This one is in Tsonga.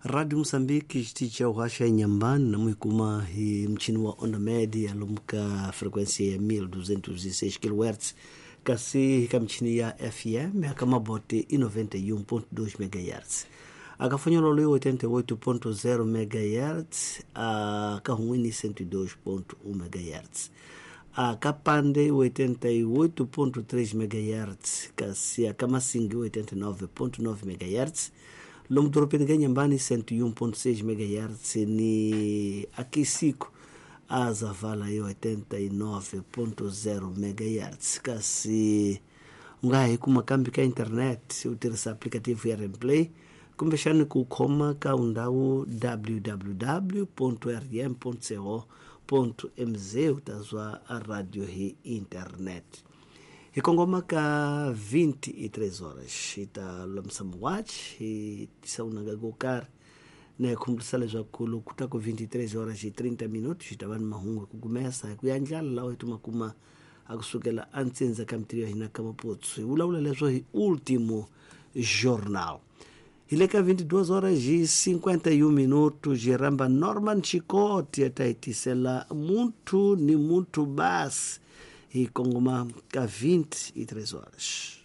Radio Moçambique xitichi xa uhaxa enyambani namuhikuma hi muchini wa onda média lomu ka frequência ya 1206 kHz, kasi ka michini ya FM aka mabote i 91.2 MHz, akafanyololo i 88.0 MHz, akahun'wini 102.1 MHz, akapande 88.3 MHz, kasi akamasingi 89.9 MHz, lomu doropeni ka Nyambani 101.6 MHz, ni akisiko azavala yo 89.0 MHz. Kasi u nga hi kuma kambi ka internet u tirhisa applicative ya Remplay kumbexani ku khoma ka undhawu www rm co mz, u ta zwa radio hi internet. Hi kongoma ka 23 horas hi ta lulamisa muwachi, hi tisa unanga ko karhi na hi khumbulisa leswaku loko ku ta ku 23 horas hi 30 minutos hi ta va ni mahungu hi ku kumesa hi ku ya ndlala lawa hi tuma kuma a kusukela antsindza ka mitirho ya hina ka maputsu. Hi vulavula leswo hi Último Jornal. Hi le ka 22 horas hi 51 minutos hi rhamba Norman Chikoti ya ta hi tisela Muntu ni Muntu Basi. Hi kongoma ka 23 horas.